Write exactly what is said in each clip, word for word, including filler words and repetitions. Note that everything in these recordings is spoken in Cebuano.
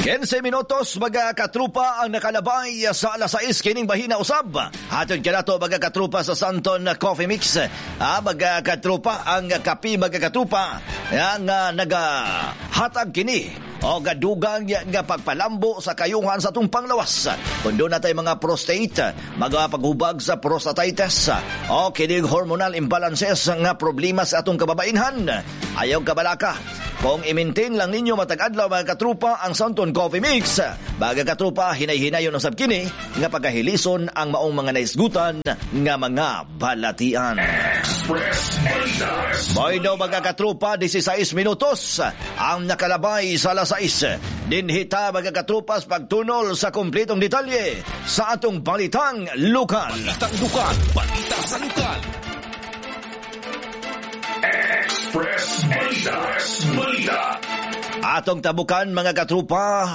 kinse minutos, mga katrupa, ang nakalabay sa alas sais kining bahina usab. Hatod kanato, mga katrupa, sa Santon Coffee Mix. Ah, mga katrupa, ang kape, mga katrupa, ang uh, nagahatag kini o gadugang nga pagpalambo sa kayuhan sa atong panglawas. Kung duna tay mga prostate, mga paghubag sa prostatitis, o kining hormonal imbalances nga problema sa atong kababainhan. Ayaw kabalaka. Kung i-maintain lang ninyo matag adlaw, mga katrupa, ang Santon Coffee Mix, mga katrupa, hinay-hinayon usab kini nga pagkahilison ang maong mga naisgutan nga mga balatian. Express Balita. Bueno, mga katrupa, disisais minutos ang nakalabay sa alas sais. Dinhi ta, mga katrupas, pagtunol sa kumplitong detalye sa atong balitang lokal. Balitang lokal. Balita sa lokal. Express Balita. Balita. Atong tabukan, mga katrupa,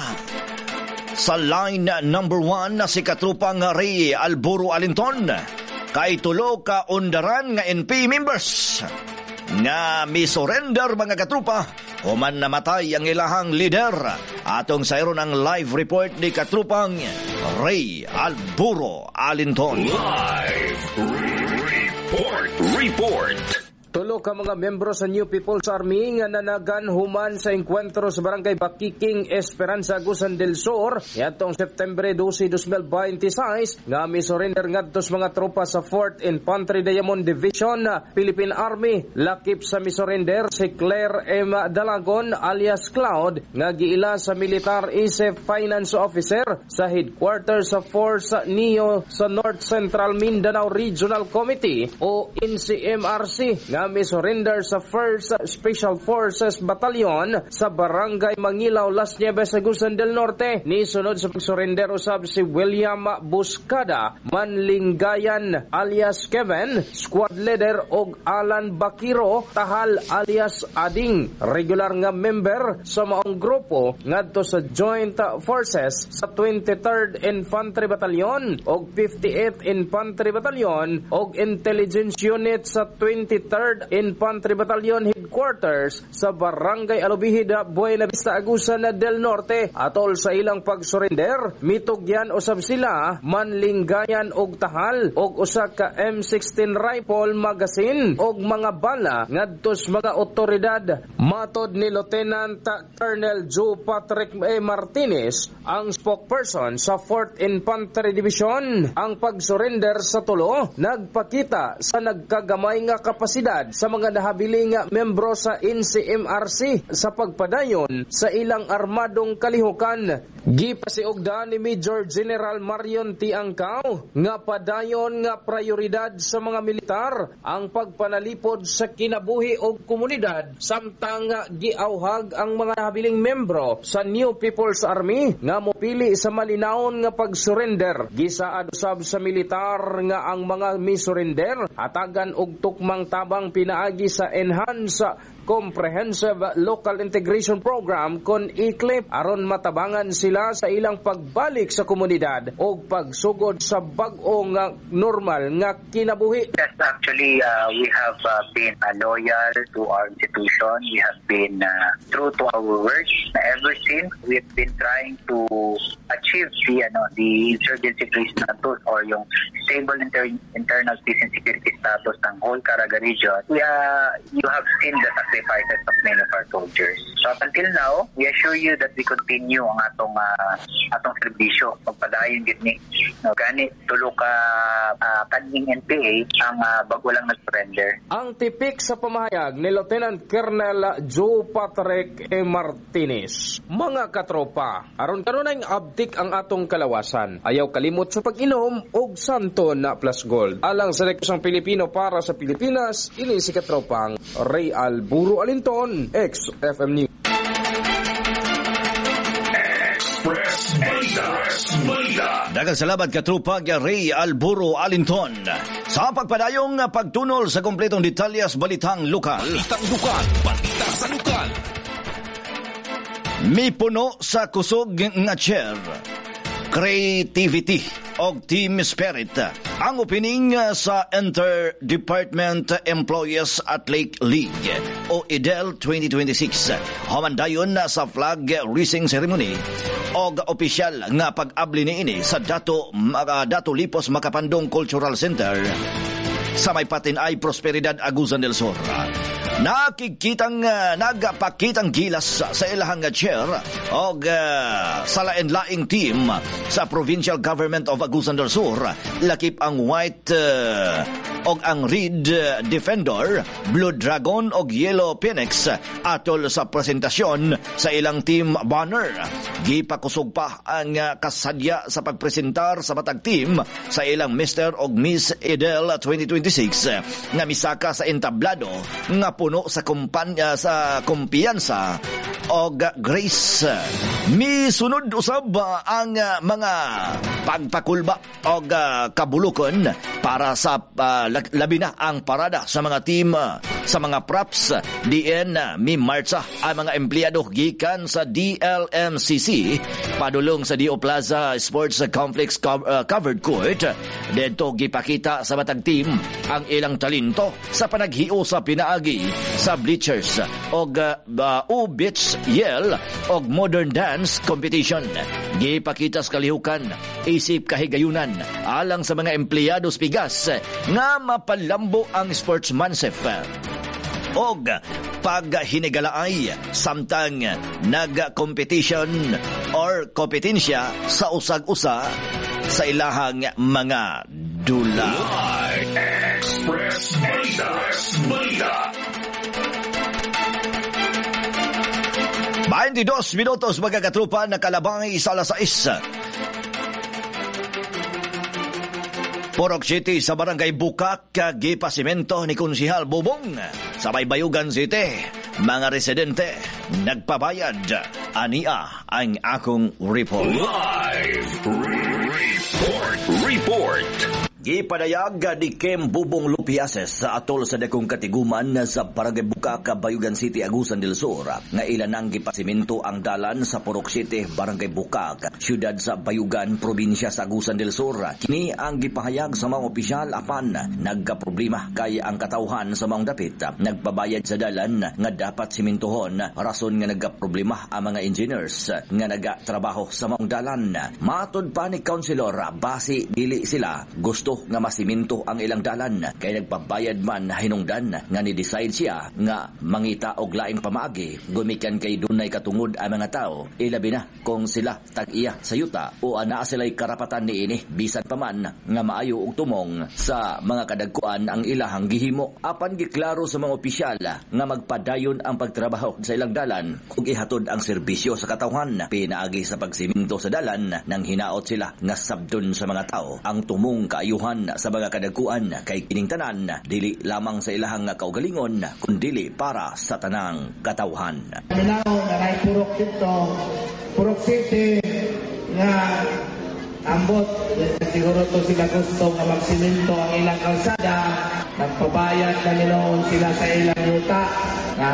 sa line number one na si katrupang Ray Alburo Alinton, kay tulo ka undaran nga N P A members nga mi-surrender, mga katrupa, human namatay ang ilahang leader. Atong sayron ang live report ni katrupang Ray Alburo Alinton. Live Report. Report. Tulo ka mga miyembro sa New People's Army nga nanagan human sa engkwentro sa Barangay Bakiking, Esperanza, Agusan del Sur niadtong September dose, dalawang libo dalawampu't sais nga mi-surrender ngadto sa mga tropa sa fourth Infantry Diamond Division, Philippine Army. Lakip sa mi-surrender si Claire M. Dalagon alias Cloud nga giila sa militar isip finance officer sa headquarters sa Force Neo sa North Central Mindanao Regional Committee o N C M R C nga mi-surrender sa first Special Forces Battalion sa Barangay Mangilaw, Las Nieves, Agusan del Norte. Nisunod sa pag-surrender usab si William Buscada Manlinggayan alias Kevin, squad leader, og Alan Bakiro Tahal alias Ading, regular nga member sa maong grupo ngadto sa Joint Forces sa twenty-third Infantry Battalion og fifty-eighth Infantry Battalion og Intelligence Unit sa twenty-third Infantry Battalion Headquarters sa Barangay Alubijid, Buena Vista, Agusan del Norte. Atol sa ilang pag-surrender, mitugyan usab sila Manlinggayan og Tahal og usa ka M sixteen rifle magazine og mga bala ngadto sa mga otoridad. Matod ni Lieutenant Colonel Joe Patrick A. Martinez, ang spokesperson sa fourth Infantry Division, ang pag-surrender sa tulo nagpakita sa nagkagamay nga kapasidad sa mga nahabiling membro sa N C M R C sa pagpadayon sa ilang armadong kalihukan. Gipasiugda ni Major General Marion T. Angkao nga padayon nga prioridad sa mga militar ang pagpanalipod sa kinabuhi og komunidad, samtang giauhag ang mga nahabiling membro sa New People's Army nga mopili sa malinawon nga pag-surrender. Gisaad usab sa militar nga ang mga mi-surrender hatagan og tukmang tabang pinaagi sa Enhanced Comprehensive Local Integration Program kon ICLIP aron matabangan sila sa ilang pagbalik sa komunidad o pagsugod sa bag-o nga normal nga kinabuhi. Yes, actually, uh, we have uh, been uh, loyal to our institution. We have been uh, true to our words. Ever since, we've been trying to achieve the, ano, the insurgency-free status or yung stable inter- internal peace and security status ng whole Caraga region. We, uh, you have seen the sacrifices of many of our soldiers. So up until now, we assure you that we continue ang atong uh, atong serbisyo, pagpadayon gid ni. No, gani tulo ka uh, kanhing N P A ang uh, bago lang nag-surrender. Ang tipik sa pamahayag ni Lieutenant Colonel Joe Patrick E. Martinez. Mga katropa, aron kanunay abtik ang atong kalawasan, ayaw kalimot sa pag-inom og Santo na Plus Gold. Alang sa Rekusang Pilipino para sa Pilipinas, ini si katropang Ray Alburo Alinton, X F M News. Express Balita. Balita. Daghang salamat, katrupa Ray Alburo Alinton. Sa pagpadayong pagtunol sa kompletong detalyes balitang lokal. Balitang lokal. Balita sa lokal. Mipuno sa kusog nga chair. Creativity og team spirit ang opening sa Inter-Department Employees Athletic League. o I D E L twenty twenty-six. Human dayon sa flag raising ceremony og opisyal nga pag-abli niini sa Dato, uh, Dato Lipos Makapandong Cultural Center sa may Patinay, Prosperidad, Agusan del Sur. Nakikitang uh, nagpakitang gilas sa ilahang chair og uh, sa lain-laing team sa Provincial Government of Agusan del Sur, lakip ang White uh, og ang Red Defender, Blue Dragon og Yellow Phoenix atol sa presentasyon sa ilang team banner. Gipakusog pa ang kasadya sa pagpresentar sa matag team sa ilang Mister og Miss I D E L twenty twenty-six nga misaka sa entablado nga puno sa kumpanya sa kumpiyansa og grace. Misunod usab ang mga pagpakulba og kabulukon para sa uh, labi na ang parada sa mga team uh, sa mga props, diin mi martsa ang mga empleyado gikan sa D L M C C padulong sa D O Plaza Sports Complex uh, covered court. Didto gipakita sa matag team ang ilang talento sa panaghiusa sa pinaagi sa bleachers og uh, U-Beach Yell og modern dance competition. Gipakita sa kalihukan isip kahigayunan alang sa mga empleyado sa Pigas nga mapalambo ang sportsmanship og paghinigalaay samtang nag-competition or kompetensya sa usag-usa sa ilahang mga dula. Live Express Balita. Balita. twenty-two minutos, mga katrupa, nakalabay sa alas sais. Purok City sa Barangay Bukak, gipasimento ni Konsihal Bubong. Sa Baybayugan City, mga residente nagpabayad. Ania ang akong report. Live Report. Report. Gipadayag ni Kim Bubong Lupiases sa atol sa dakong katiguman sa Barangay Bukak, Bayugan City, Agusan del Sur nga ilan ang gipasimento ang dalan sa Purok City, Barangay Bukak, siyudad sa Bayugan, probinsya sa Agusan del Sur. Kini ang gipahayag sa mga opisyal, apan nagkaproblema kay ang katawhan sa mga dapit nagpabayad sa dalan nga dapat simintuhon, rason nga nagkaproblema ang mga engineers nga nagatrabaho sa mga dalan. Matod pa ni Councilor, basi dili sila gusto nga masiminto ang ilang dalan kay nagpabayad man, hinungdan nga ni-decide siya nga mangita og laing pamaagi gumikan kay dunay katungod ang mga tao, ilabi na kung sila tag-iya sa yuta o anaa sila'y karapatan niini, bisan pa man nga maayo og tumong sa mga kadagkuan ang ilahang gihimo. Apan giklaro sa mga opisyal nga magpadayon ang pagtrabaho sa ilang dalan ug ihatod ang serbisyo sa katawhan pinaagi sa pagsiminto sa dalan, nang hinaot sila nga sabdon sa mga tao ang tumong kaayuhan sa mga kadagkuan kay kining tanan dili lamang sa ilahang kaugalingon kundili para sa tanang katawhan. Minaw na Purok dito, Purok City nga ambot siguro to sila gusto nga magsimento ang ilang kalsada, nagpabayad na niloon sila sa ilang yuta nga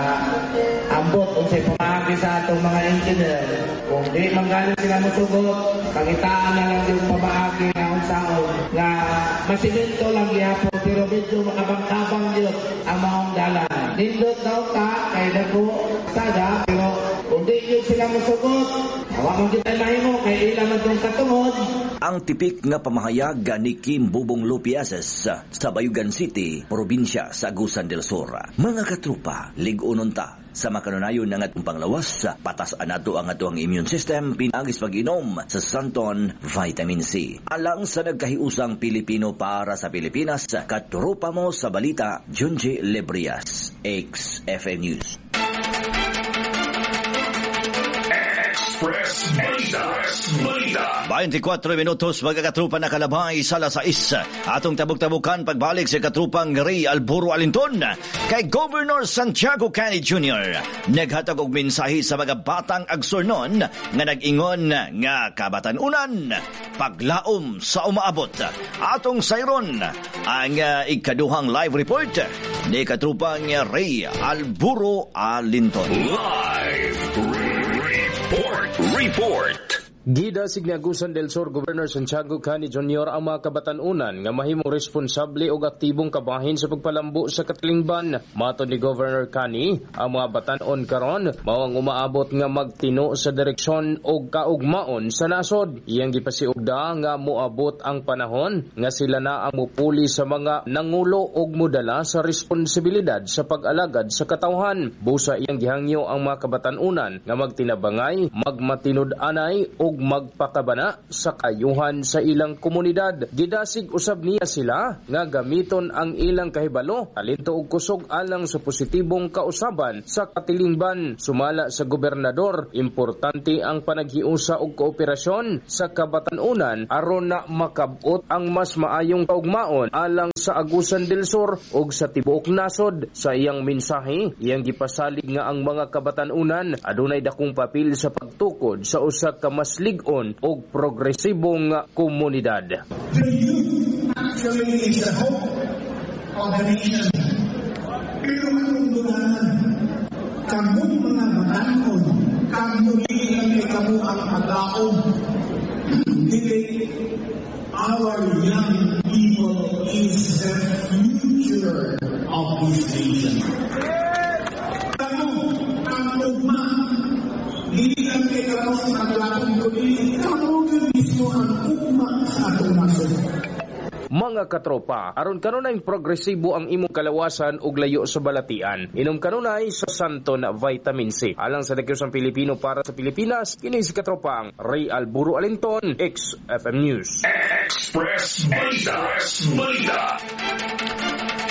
ambot unsay pamaagi sa atong mga engineer. Kung di man gani sila mosugot, pangitaan na lang yung pamaagi nga unsaon nga masimento lang gihapon pero medyo makabang-kabang yun ang maong dalan. Nindot na unta kay dako sada, pero kung di yun sila mosugot, awa man kita mahimo kay ila man tong katungod. Ang tipik nga pamahayag ni Kim Bubong Lupiases sa Bayugan City, probinsya sa Agusan del Sur. Mga katrupa, lig-unon ta sa makanunayon ng atong panglawas, patas-an nato ang atoang immune system pinaagis pag-inom sa Santon Vitamin C. Alang sa nagkahiusang Pilipino para sa Pilipinas, katrupa mo sa balita, Junji Lebrias, X F M News. Express Balita. Balita. twenty-four minutos, mga katrupa, nakalabay sa alas sais. Atong tabok-tabukan pagbalik sa katrupang Ray Alburo Alinton kay Governor Santiago Cani Junior naghatag og mensahe sa mga batang Agsurnon nga nag-ingon nga kabatan-unan paglaom sa umaabot. Atong sayron ang uh, ikaduhang live report ni katrupang Ray Alburo Alinton. Live Report. Report. Gidasig ni Agusan del Sur Governor Santiago Cani Junior ang mga kabatan-unan nga mahimong responsable og aktibong kabahin sa pagpalambo sa katilingban. Matod ni Governor Cani, ang mga batan-on karon mao ang umaabot nga magtino sa direksyon og kaugmaon sa nasod. Iyang gipasiugda nga moabot ang panahon nga sila na ang mupuli sa mga nangulo og modala sa responsibilidad sa pag-alagad sa katawhan. Busa iyang gihangyo ang mga kabatan-unan nga magtinabangay, magmatinud-anay og magpakabana sa kayuhan sa ilang komunidad. Gidasig usab niya sila nga gamiton ang ilang kahibalo, talento ug kusog alang sa positibong kausaban sa katilingban. Sumala sa gobernador, importante ang panaghiusa og kooperasyon sa kabatan-unan aron na makabot ang mas maayong kaugmaon alang sa Agusan del Sur ug sa tibuok nasod. Sa iyang mensahe, iyang gipasalig nga ang mga kabatan-unan adunay dakong papel sa pagtukod sa usa ka mas lig-on og progresibong komunidad. The youth actually is the hope of the nation. Pero anong dudahan? Kamong mga batan-on, kamo dili kamo ang paglaom. Dili, our young people is the future of this nation. Kamo ang ugma. Dili lang kay kamo ang paglaom, kundi kamo mismo ang ugma sa atong nasod. Mga katropa, aron kanunay progresibo ang imong kalawasan ug layo sa balatian, inom kanunay sa Santon Vitamin C. Alang sa Nagyusang Pilipino para sa Pilipinas, kini si katropang Ray Alburo Alinton, X F M News. Express Balita. Balita.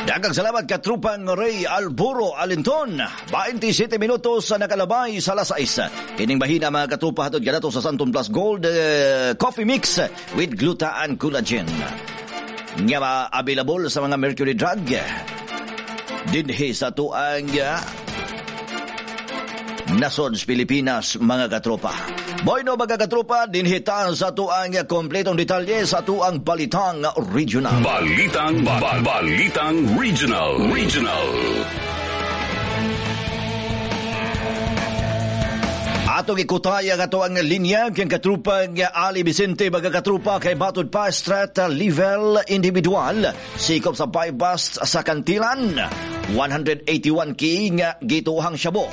Daghang salamat, katrupang Ray Alburo Alinton. twenty-seven minutos sa nakalabay sa alas sais. Kining bahina, mga katrupa, hatod kanato sa Santon Plus Gold eh, Coffee Mix with Gluta and Collagen nga ma available sa mga Mercury Drug dinhi sa tuang uh, nasod sa Pilipinas, mga katropa. Bueno, mga katropa, dinhi ta sa tuang kompletong detalye sa tuang Balitang Regional. Balitang ba, Balitang Regional. Regional. Atong ikutay ang ato ang linya kang katrupang Ali Vicente, mga katrupa, kay matud pa street level individual sikop sa buy-bust sa Cantilan, one hundred eighty-one ki nga gituhang shabu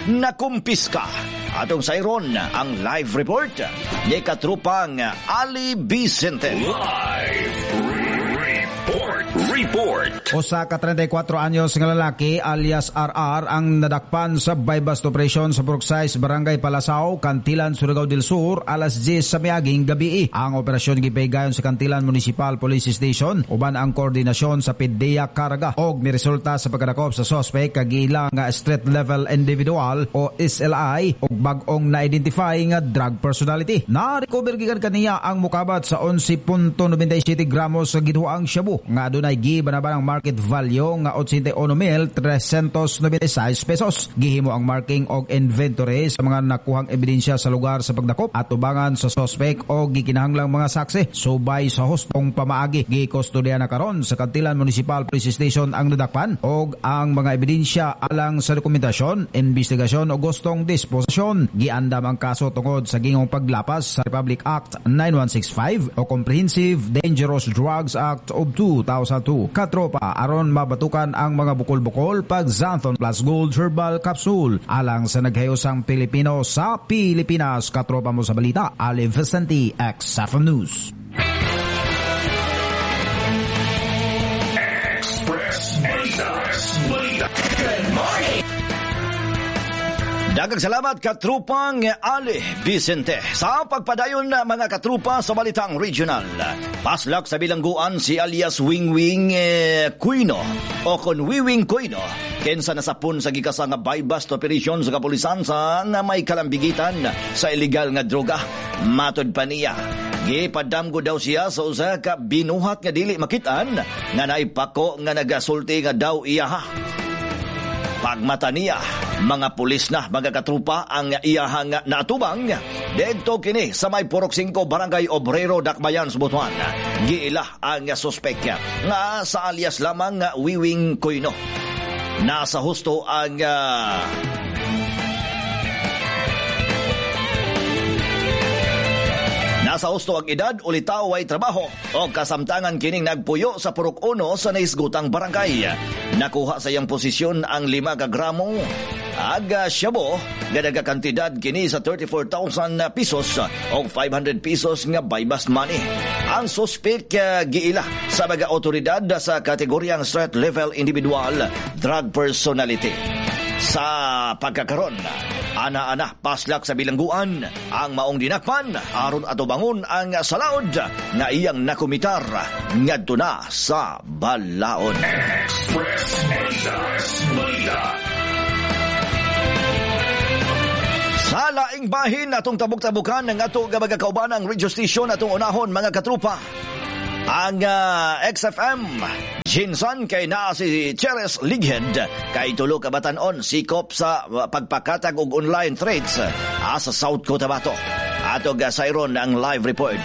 nakumpiska. Atong sayron ang live report ni katrupang Ali Vicente. Live Report. Report. Usa ka trenta'y kwatro anyos nga lalaki alias R R ang nadakpan sa buy-bust operation sa Purok sais, Barangay Palasao, Cantilan, Surigao del Sur alas diyes sa miaging gabi. Ang operasyon gipahigayon sa Cantilan Municipal Police Station uban ang koordinasyon sa P D E A Caraga og niresulta sa pagkadakop sa suspect kag ilang nga street level individual o S L I og bag-ong na-identify nga drug personality. Na-recover gikan kaniya ang mukabat sa onse punto nobenta'y siyete gramos sa ginhuang shabu nga adunay gibanabanang market value nga eighty-one mil three hundred ninety-six pesos. Gihimo ang marking og inventory sa mga nakuhang ebidensya sa lugar sa pagdakop at tubangan sa suspect o gikinahanglang mga saksi subay sa hustong pamaagi. Gikustodiya na karon sa Cantilan Municipal Police Station ang nadakpan og ang mga ebidensya alang sa dokumentasyon, investigasyon o hustong disposisyon. Giandam ang kaso tungod sa gingong paglapas sa Republic Act nine one six five o Comprehensive Dangerous Drugs Act of two thousand two. Katropa, aron mabatukan ang mga bukol-bukol pag Xanthone Plus Gold Herbal Capsule alang sa naghayosang Pilipino sa Pilipinas. Katropa mo sa balita, Ali Vicente, X F M News. Express Balita. Balita. Good morning. Daghang salamat, katrupang Ali Vicente. Sa pagpadayon na, mga katrupa, sa Balitang Regional. Paslak sa bilangguan si alias Wingwing eh, Cuino o kon Wiwing Cuino kensa nasapon sa gikasa nga buy-bust operation sa kapulisan sa nga may kalambigitan sa illegal nga droga. Matod pa niya, gipadamgo daw siya sa usa ka binuhat nga dili makitaan nga naipako nga nagasulti nga daw iyaha. Pagmata niya, mga pulis na, mga katrupa, ang iyahang naatubang. Didto kini sa may Purok singko, Barangay Obrero, Dakbayan, Butuan. Giila ang suspek nga sa alias lamang nga Wiwing Koyno. Nasa husto ang uh, Naa sa husto ang edad, ulitaw, way trabaho o kasamtangan kining nagpuyo sa Purok Uno sa nahisgutang barangay. Nakuha sa iyang posisyon ang lima ka gramo aga shabu nga nagakantidad kini sa thirty-four thousand pesos o five hundred pesos nga buy-bust money. Ang suspek uh, giila sa mga otoridad sa kategoryang threat level individual drug personality. Sa pagkakaron, ana-ana paslak sa bilangguan ang maong dinakpan aron atubangon ang salaod nga iyang nakumitar ngadto na sa balaod. Express Balita. Balita. Sa laing bahin, atong tabok-tabukan ng ato nga mga kauban ang radio station, atong unahon, mga katrupa, ang uh, X F M Jinsan kay naa si Cheres Lighead kay tulo ka batan-on sikop sa uh, pagpakatag og online threats uh, sa South Cotabato. Ato gasayron ang live report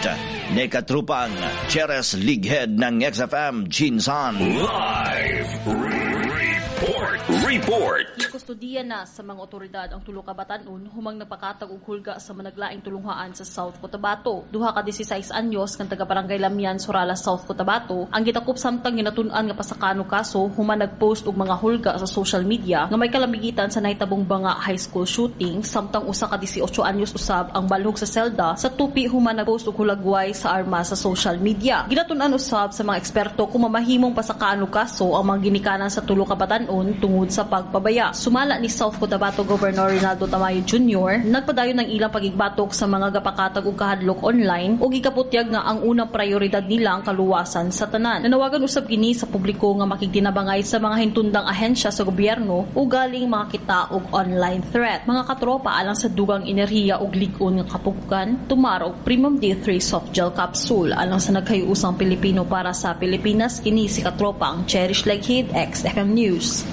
ni katrupang Cheres Lighead ng X F M Jinsan. Live Report. Report. Gikustodiya na sa mga otoridad ang tulo ka batan-on humang nagpakatag og hulga sa managlaing tulunghaan sa South Cotabato. Duha ka labing-sais anyos kang taga Barangay Lamian, Surala, South Cotabato ang gitakop samtang ginatun-an nga pasakano kaso human nagpost og mga hulga sa social media nga may kalamigitan sa nahitabong Banga High School shooting, samtang usa ka labing-otso anyos usab ang balhog sa selda sa Tupi human nagpost og hulagway sa arma sa social media. Ginatun-an usab sa mga eksperto kung mamahimong pasakano kaso ang mga ginikanan sa tulo ka batan-on tungod sa pagpabaya. Sumala ni South Cotabato Governor Rinaldo Tamayo Junior, nagpadayon ng ilang pagigbatok sa mga gapakatag og kahadlok online ug gikaputyag nga ang unang prioridad nila ang kaluwasan sa tanan. Nanawagan usab kini sa publiko nga makigtinabangay sa mga hintundang ahensya sa gobyerno o galing makakita og online threat. Mga katropa, alang sa dugang enerhiya ug lig-on nga kapugukan, tumar og Premium D three Soft Gel Capsule. Alang sa nagkayuusang Pilipino para sa Pilipinas, kini si katropa ang Cherish Leghid, X F M News.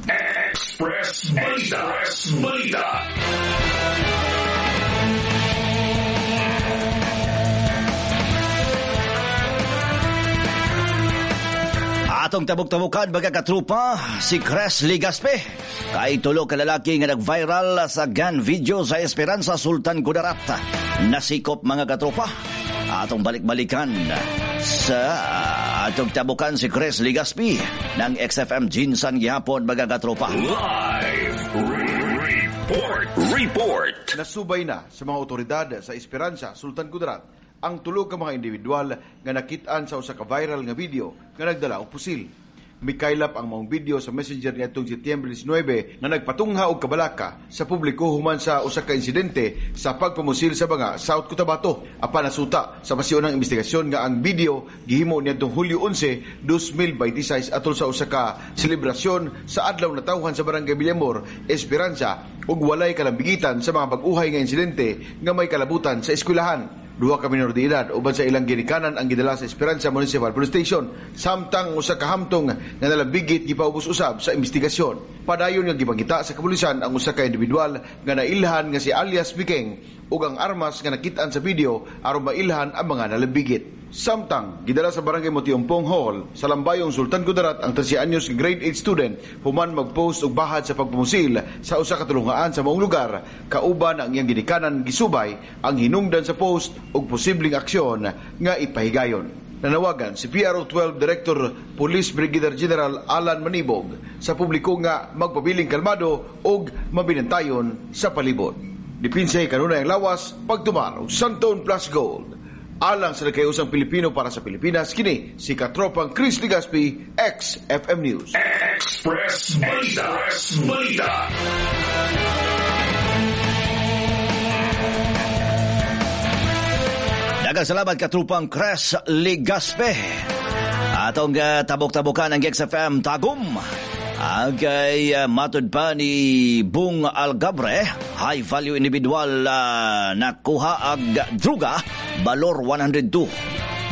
Express Balita. Express Balita. Atong tabok-tabukan, mga katrupa, si Cres Ligaspe. Kay tulo ka lalaki nga nag-viral sa gun video sa Esperanza, Sultan Kudarat. Nasikop, mga katropa. Atong balik-balikan sa atong tabukan si Chris Ligaspi ng X F M Jinsan gihapon, mga katropa. Live Report. Report. Nasubay na sa mga otoridad sa Esperanza, Sultan Kudarat ang tulo ka mga individual nga nakit-an sa usa ka viral nga video nga nagdala og pusil. Mikaylap ang maong video sa Messenger niadtong Setyembre labing-nuwebe nga nagpatungha og kabalaka sa publiko human sa usa ka insidente sa pagpamusil sa Banga, South Cotabato. Apan nasuta sa pasiunang investigasyon nga ang video gihimo niadtong Hulyo onse, dalawang libo labing-sais atol sa usa ka selebrasyon sa Adlaw Natawhan sa Barangay Villamor, Esperanza ug walay kalambigitan sa mga bag-uhay nga insidente nga may kalabutan sa eskwelahan. Duha ka minor de edad uban sa ilang ginikanan ang gidala sa Esperanza Municipal Police Station, samtang usa ka hamtong nga nalambigit gipaubos usab sa investigasyon. Padayon nga gipangita sa kapulisan ang usa ka individual nga nailhan nga si alias Bikeng ug ang armas nga nakit-an sa video aron mailhan ang mga nalambigit. Samtang gidala sa Barangay Motiumpong Hall sa Lambayong, Sultan Kudarat ang trese anyos nga grade eight student human magpost og bahad sa pagpamusil sa usa ka tulungaan sa maong lugar kauban ang iyang ginikanan, gisubay ang hinungdan sa post ug posibleng aksyon nga ipahigayon. Nanawagan si P R O twelve Director Police Brigadier General Alan Manibog sa publiko nga magpabiling kalmado ug mabinantayon sa palibot. Dipinsa kanunay ang lawas pagtumar og Santon Plus Gold. Alang sa nagkayusang Pilipino para sa Pilipinas, kini si Katropang Chris Ligaspi, X F M News. Express Balita. Express Balita. Daghang salamat, katrupang Chris Ligaspe. Atong uh, tabok-tabokan ang X F M Tagum. Ang kay uh, matod pa ni Bung Algabre, high value individual uh, nakuha ag druga balor one hundred two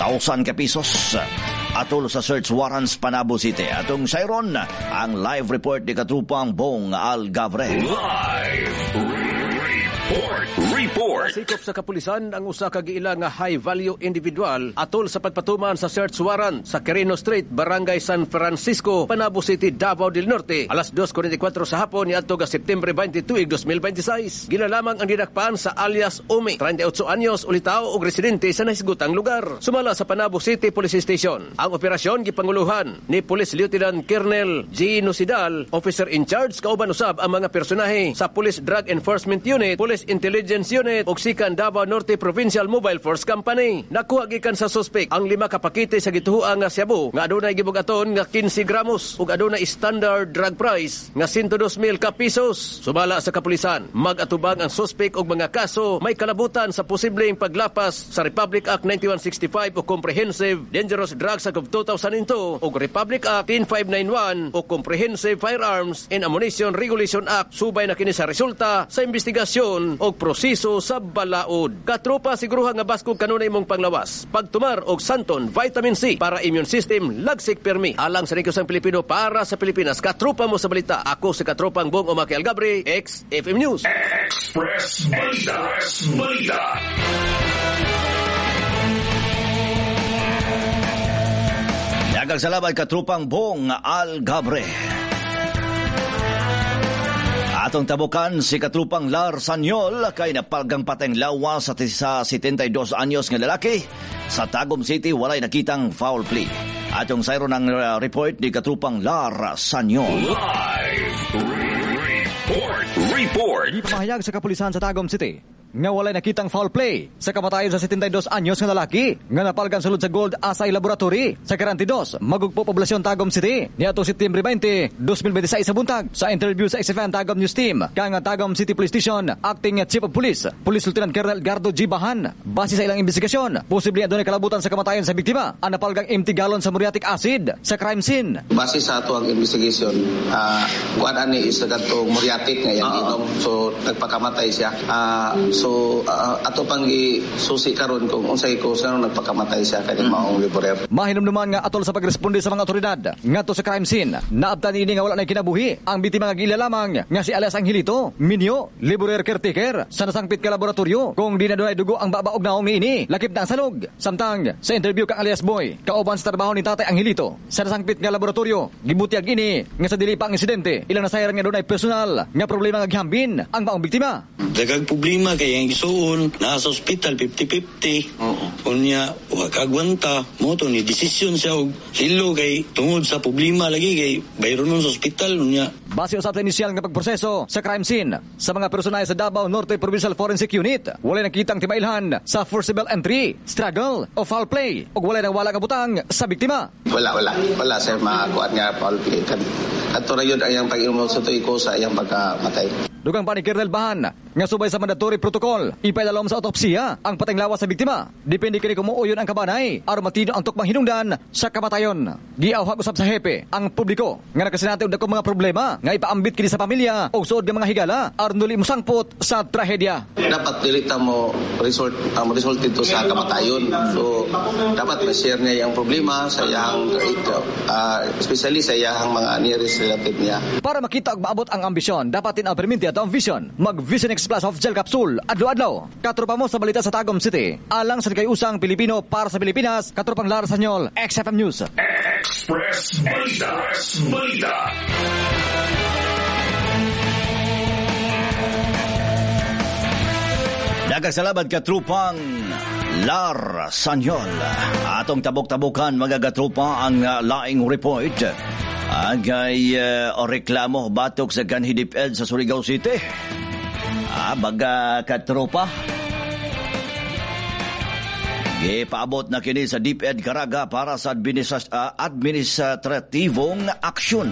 thousand ka pesos atol sa search warrants, Panabo City. Atong sayron ang live report ni katrupang Bong Algabre. Live Report. Report. Gipasikop sa kapulisan ang usa ka giila nga high value individual atol sa pagpatuman sa search warrant sa Quirino Street, Barangay San Francisco, Panabo City, Davao del Norte. Alas dos kuwarenta y kuwatro sa hapon niadto ga Septembre dalawampu't dalawang, dos mil bente y sais. Gila lamang ang dinakpan sa alias Umi, trenta y otso anyos, ulitaw og residente sa nahisgutang lugar. Sumala sa Panabo City Police Station, ang operasyon gipanguluhan ni Police Lieutenant Colonel G. Nusidal, officer in charge, kauban usab ang mga personahe sa Police Drug Enforcement Unit, Police Intelligence Unit ug Sikan Davao Norte Provincial Mobile Force Company. Nakuha gikan sa suspect ang lima ka pakete sa gituoang nga shabu nga adunay gibugaton nga kinse gramos ug adunay standard drug price nga one hundred two mil ka pesos. Sumala sa kapulisan, mag-atubang ang suspect og mga kaso may kalabutan sa posibleng paglapas sa Republic Act ninety-one sixty-five o Comprehensive Dangerous Drugs Act of two thousand two ug Republic Act ten five ninety-one o Comprehensive Firearms and Ammunition Regulation Act, subay na kini sa resulta sa investigasyon og proseso sa balaod. Katropa, siguruha nga baskog kanunay mong panglawas pagtumar og Santon Vitamin C para immune system lagsik permi. Alang sa Nikos ang Pilipino para sa Pilipinas, katropa mo sa balita. Ako si Katropang Bong Umaki Algabre, X F M News. Express Balita. Express Balita. Daghang salamat, katrupang Bong Algabre. Atong tabukan si katrupang Lar Sanyol kay napalgang pateng lawas sa, sa setenta y dos anyos nga lalaki sa Tagum City, walay nakitang foul play. Atong sayron ang uh, report ni katrupang Lar Sanyol. Live Report. Report. Gipamahayag sa kapulisan sa Tagum City nga walay nakitang foul play sa kamatayon sa setenta y dos anyos nga lalaki nga napalgan sulod sa Gold Assay Laboratory sa Caranti dos, Magugpo, Poblacion, Tagum City niadtong September dalawampu't dalawam, dos mil bente y sais sa buntag. Sa interview sa X F M Tagum News Team kang Tagum City Police Station Acting Chief of Police, Police Lieutenant Colonel Edgardo G. Bahan, base sa ilang investigasyon, posible adunay kalabutan sa kamatayon sa biktima ang napalgang empty gallon sa muriatic acid sa crime scene. Base sa ato ang investigation, uh, kuan ani is kadtong muriatic nga iyang giinom. So nagpakamatay siya. Ah, so ah, ato pang susi karon kung unsay cause nganong nagpakamatay siya kani maong laborer. Mahinumduman nga atol sa pagresponde sa mga otoridad ngadto sa crime scene, naabtan ini nga wala na kinabuhi ang biktima nga gila lamang nga si alias Angelito Minyo, laborer caretaker sa nasangpit ka laboratorio, kung di na dunay dugo ang baba og naong niini, lakip na ang salog. Samtang sa interview kang alias Boy, kauban sa trabaho ni Tatay Angelito sa nasangpit nga laboratorio, gibutyag ini nga sa dili pa ang insidente, ilang nasayaran nga dunay personal nga problema nga gihambin ang maong biktima. Daghang problema kay ang igsuon naa sa ospital, fifty-fifty. Oo. Unya wa kagwanta mo to ni desisyon siya og hilo kay tungod sa problema lagi kay bayron nun sa ospital unya. Base usab sa inisyal nga pagproseso sa crime scene sa mga personahe sa Davao Norte Provincial Forensic Unit, walay nakitang timailhan sa forcible entry, struggle o foul play ug walay nawala nga butang sa biktima. Wala, wala. Wala sir makakuan nga foul play. Kad kadto ra yun ang iyang pag-inom sa tuig ko sa iyang pagkamatay. Dugang pa ni Colonel Bahan nga subay sa mandatory protocol, ipaidalom sa autopsiya ang pateng lawas sa biktima. Depende kini kung muuyon ang kabanay aron matino ang tukmang hinungdan sa kamatayon. Giawhag usab sa hepe ang publiko nga nakasinati og dagkong mga problema nga ipaambit kini sa pamilya o suod nga mga higala aron dili mosangpot sa trahedya. Dapat dili ta mo result ang result dito sa kamatayon. So dapat ma-share niya yung problema sa iyang uh, especially sa iyang mga nearest relative niya. Para makita og maabot ang ambisyon, dapat din ang perminti at ang vision. Mag Vision X Plus of Gel Capsule, adlaw-adlaw. Katropa mo sa balita sa Tagum City. Alang sa usang Pilipino para sa Pilipinas, katropang Lara Sanyol, X F M News. Express Balita. Express Balita. Daghang salamat, katrupang Lar Sanyol. Atong tabok-tabukan, mga katropa, ang uh, laing report. Ang kay uh, reklamo batok sa Ganhi DepEd sa Surigao City. Ah, baga katropa. Gipaabot na kini sa DepEd Caraga para sa administras- uh, administratibong aksyon.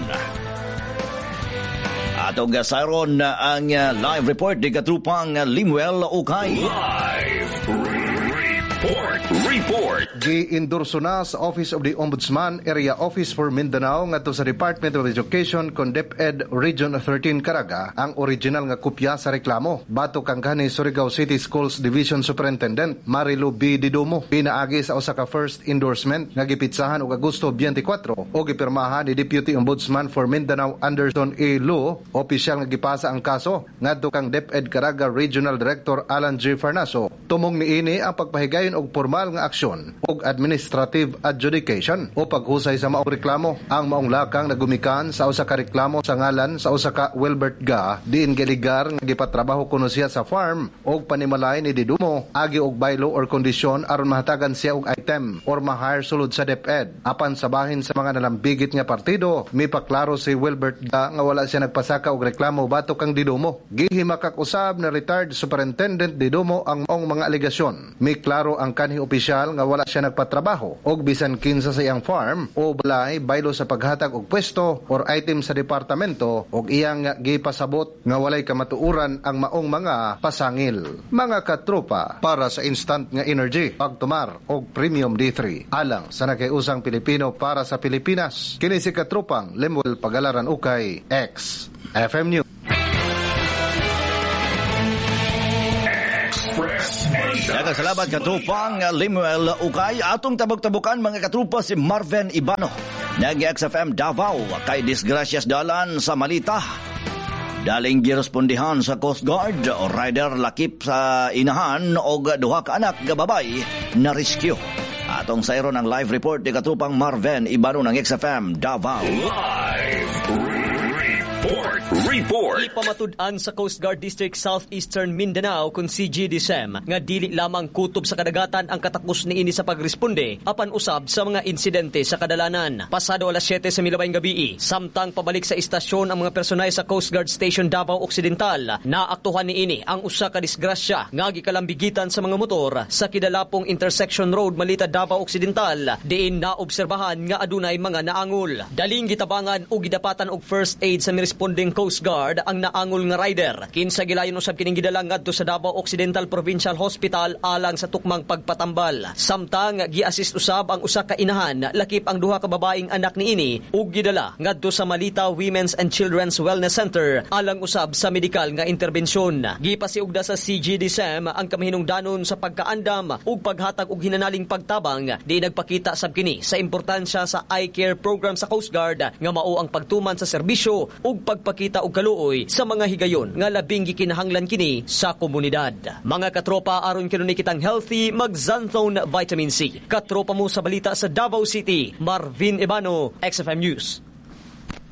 Atong sayron ang uh, live report ni katrupang Limuel Ukay. Live Report. Report. Report. Gi-endorso na sa Office of the Ombudsman Area Office for Mindanao ngadto sa Department of Education kon DepEd Region thirteen Caraga ang original nga kopya sa reklamo batok kang kanhi Surigao City Schools Division Superintendent Marilu B. Didumo pinaagi sa usa ka first endorsement nga gipitsahan og Agosto twenty-four o gipirmahan ni Deputy Ombudsman for Mindanao Anderson A. Lu. Opisyal nga gipasa ang kaso ngadto kang DepEd Caraga Regional Director Alan G. Farnaso. Tumong niini ang pagpahigayon og formal nga aksyon og administrative adjudication o paghusay sa maong reklamo. Ang maong lakang nagumikan sa usa ka reklamo sa ngalan sa usa ka Wilbert Ga diin giligar nga gipatrabaho kuno siya sa farm og panimalay ni Didumo agi og bylaw or kondisyon aron mahatagan siya og item or ma-hire sulod sa DepEd. Apan sa bahin sa mga nalambigit nga partido, mipaklaro si Wilbert Ga nga wala siya nagpasaka og reklamo batok kang Didumo. Gihimakak usab na retired Superintendent Didumo ang maong mga alegasyon. Miklaro ang kanhi opisyal nga wala siya nagpatrabaho og bisan kinsa sa iyang farm o balay baylo sa paghatag og pwesto or item sa departamento og iyang gipasabot nga walay kamatuoran ang maong mga pasangil. Mga katropa, para sa instant nga energy, pagtumar og Premium D three alang sa nakiusang Pilipino para sa Pilipinas. Kini si katropang Lemuel Pagalaran Ukay, X F M News. Daghang salamat katropang Lemuel Ukay. Atong tabok-tabukan mga katrupa si Marvin Ibano ng X F M Davao kay disgrasyas dalan sa Malita. Daling girespondihan sa Coast Guard, rider lakip sa inahan og duha ka anak nga babay na rescue. Atong sayron ang live report ni katrupang Marvin Ibano ng X F M Davao. Live Report. Report. Ipamatud-an sa Coast Guard District Southeastern Mindanao kun C G D S E M nga dili lamang kutob sa kadagatan ang katakos niini sa pagresponde apan usab sa mga insidente sa kadalanan. Pasado alas siyete sa milabayng gabi, samtang pabalik sa istasyon ang mga personay sa Coast Guard Station Davao Occidental, naaktuhan niini ang usa ka disgrasya nga gikalambigitan sa mga motor sa kidalapong Intersection Road Malita Davao Occidental, diin naobserbahan nga adunay mga naangol. Daling gitabangan o gidapatan og first aid sa mirespondeng Coast Guard ang naangol nga rider. Kinsa gilayon usab kining gidala ngadto sa Davao Occidental Provincial Hospital alang sa tukmang pagpatambal. Samtang gi-assist usab ang usa ka inahan lakip ang duha ka babaeng anak niini ug gidala ngadto sa Malita Women's and Children's Wellness Center alang usab sa medikal nga interbensyon. Gipasiugda sa C G D S E M ang kamahinungdanon sa pagkaandam ug paghatag og hinanaling pagtabang di nagpakita sab kini sa importansya sa eye care program sa Coast Guard nga mao ang pagtuman sa serbisyo ug pagpakita og kaluoy sa mga higayon nga labing gikinahanglan kini sa komunidad. Mga katropa, aron kanunay kitang healthy, mag-Xanthone Vitamin C. Katropa mo sa balita sa Davao City, Marvin Ebano, X F M News.